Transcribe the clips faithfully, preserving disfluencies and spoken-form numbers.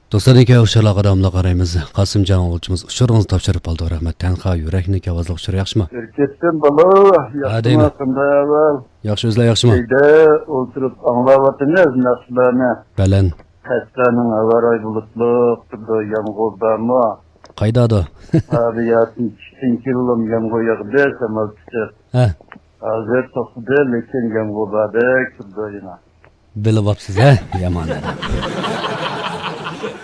دوستلاردىن كېلىپ ئۇچۇرلارغا داۋاملىق قارايمىز. قاسىمجان ئوغۇلچىمىز ئۇچۇرىڭىزنى تاپشۇرۇپ قالدى. رەھمەت. تەنھا يۈرەكنىڭ ئاۋازلىق ئۇچۇرى ياخشىمۇ؟ ئەركەتتىن بالا، ھە، ياخشىمۇ؟ دەيمەن. قانداق ئەھۋال؟ ياخشى، ئۆزلەر ياخشىمۇ؟ ئۆيدە ئولتۇرۇپ ئاڭلاۋاتىمىز ناخشىلارنى. بەلەن. قەشقەرنىڭ ھاۋا رايى بۇلۇتلۇق، تۇرىدۇ، يامغۇر بارمۇ؟ قايدادۇ؟ ھە، بۇ يەردىن چۈشتىن كېيىنلا يامغۇر ياغدى، شامال چىقىپ. ھە. ھازىر توختىدى، لېكىن يامغۇر باردەك تۇرىدۇ يەنە. بىلىۋاپسىز، ھە؟ يامان ئادەم.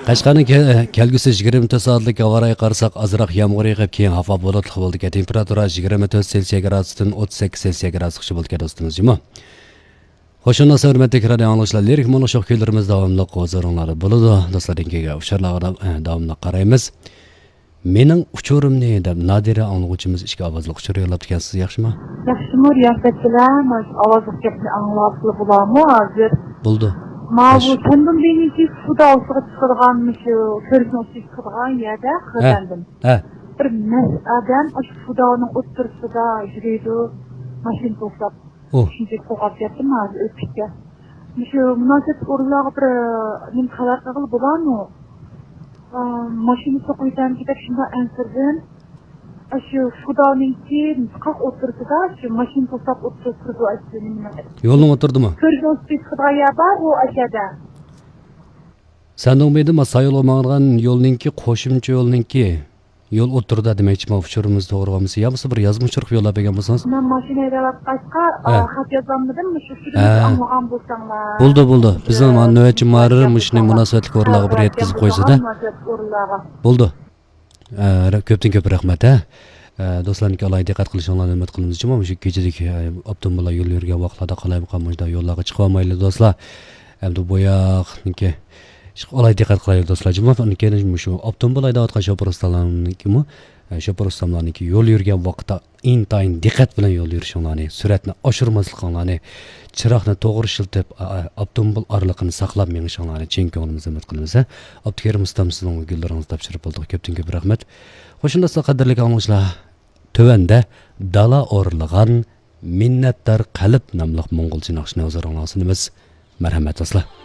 قەشقەرنىڭ كە-، كەلگۈسى يىگىرمە تۆت سائەتلىك ھاۋا رايىغا قارىساق، ئازراق يامغۇر يېغىپ، كېيىن ھاۋا بۇلۇتلۇق بولىدىكەن. تېمپېراتۇرا يىگىرمە تۆت سېلسىيە گرادۇستىن ئوتتۇز سەككىز سېلسىيە گرادۇسقىچە بولىدىكەن، دوستىمىز، جۇمۇ. خوش ئامراق، ھۆرمەتلىك رادىئو ئاڭلىغۇچىلار، لىرىك مۇڭلۇق شوخ كۈيلىرىمىز داۋاملىق ھۇزۇرۇڭلاردا بولىدۇ. دوستلاردىن كېلگەن ئۇچۇرلارغا دا-، ئە، داۋاملىق قارايمىز. مېنىڭ ئۇچۇرۇمنى دەپ نادىرە ئاڭلىغۇچىمىز ئىككى ئاۋازلىق ئۇچۇر يوللاپتىكەنسىز، ياخشىمۇ؟ ياخشىمۇ، رىياسەتچىلەر؟ مانا شۇ ئاۋازلىق گەپنى ئاڭلىۋاتقىلى بولامۇ ھازىر؟ بولىدۇ. ماۋۇ خوش. سەندىن بېيىنكى سۇدا ئوتتۇرىغا چىقىدىغان، مۇشۇ كۆۋرۈكنىڭ ئۈستىگە چىقىدىغان يەردە، ھە، قىردەندىن. ھە. بىر مەست ئادەم ئاشۇ سۇدانىڭ ئوتتۇرىسىدا يۈرىدۇ، ماشىنا توساپ. ئۇ. شۇنچىلىك قوغلاپ كەتتىم، ھازىر ئۆتۈپ كەتتى. مۇشۇ مۇناسىۋەتلىك ئورۇنلارغا بىر، نېمە، خەۋەر قىلغىلى بولارمۇ؟ ئا، ماشىنا سوقۇۋېتەمدىكىن دەپ شۇنداق ئەنسىرىدىم. ئاشۇ فۇدانىڭكى قاق ئوتتۇرىسىدا، شۇ ماشىنا توساپ ئوتتۇرىسىدا تۇرىدۇ، ئاشۇ نېمىنىڭ. يولنىڭ ئوتتۇرىدىمۇ؟ كۆرگەن ئۈستىگە چىقىدىغان يەر بار، ئۇ ئاشەدە. سەندىڭ بېيىدە ما سايولغا ماڭىدىغان يولنىڭكى، قوشۇمچە يولنىڭكى. يول ئوتتۇرىدا دېمەكچىمەن، ئۇچۇرىمىز توغرا بولمىسا، يا بولمسا بىر يازما ئۇچۇر قىلىپ يوللاپ بەرگەن بولسىڭىز. مەن ماشىنا ھەيدەۋاتقاچقا، ھە. ئا، خەت يازالمىدىم، مۇشۇ ئۇچۇرنى ھە. ئاڭلىغان بولساڭلار. بولدى، بولدى. بىزنىڭ مانا نۆۋەتچى مۇھەررىر مۇشۇنى مۇناسىۋەتلىك ئورۇنلارغا بىر يەتكۈزۈپ قويسىدە. بولدى. ئە، رە-، كۆپتىن كۆپ رەھمەت، ھە. ئە، دوستلارنىڭكى ئالاھىدە دىققەت قىلىشىڭلارنى ئۈمىد قىلىمىز جۇمۇ. مۇشۇ كېچىدىكى، ئە، ئاپتوموبىللار يول يۈرگەن ۋاقىتلاردا قالايمىقان مۇشۇنداق يوللارغا چىقىۋالمايلى، دوستلار. ئەمدى بۇ ياقنىڭكى ئىشقا ئالاھىدە دىققەت قىلايلى، دوستلار. جۇمۇ، ئۇنىڭ كېيىن مۇشۇ ئاپتوموبىل ھەيدەۋاتقان شوپۇر ئۇستاملارنىڭكىمۇ، ئە، شوپۇر ئۇستاملارنىڭكى يول يۈرگەن ۋاقىتتا ئىنتايىن دىققەت بىلەن يول يۈرۈشۈڭلارنى، سۈرئەتنى ئاشۇرماسلىقىڭلارنى، چىراغنى توغرا ئىشلىتىپ، ئا-، ئا-، ئاپتوموبىل ئارىلىقىنى ساقلاپ مېڭىشىڭلارنى چىن كۆڭلىمىزدىن ئۈمىد قىلىمىز، ھە. ئابدۇكېرىم ئۇستام، سىزنىڭ گۈللىرىڭىزنى تاپشۇرۇپ بولدۇق. كۆپتىن كۆپ رەھمەت. خوش، شۇنداقلا قەدىرلىك ئاڭلىغۇچىلار، تۆۋەندە دالا ئورۇنلىغان مىننەتدار قەلب ناملىق موڭغۇلچە ناخشىنى ھۇزۇرۇڭلارغا سۇنىمىز. مەرھەمەت، دوستلار.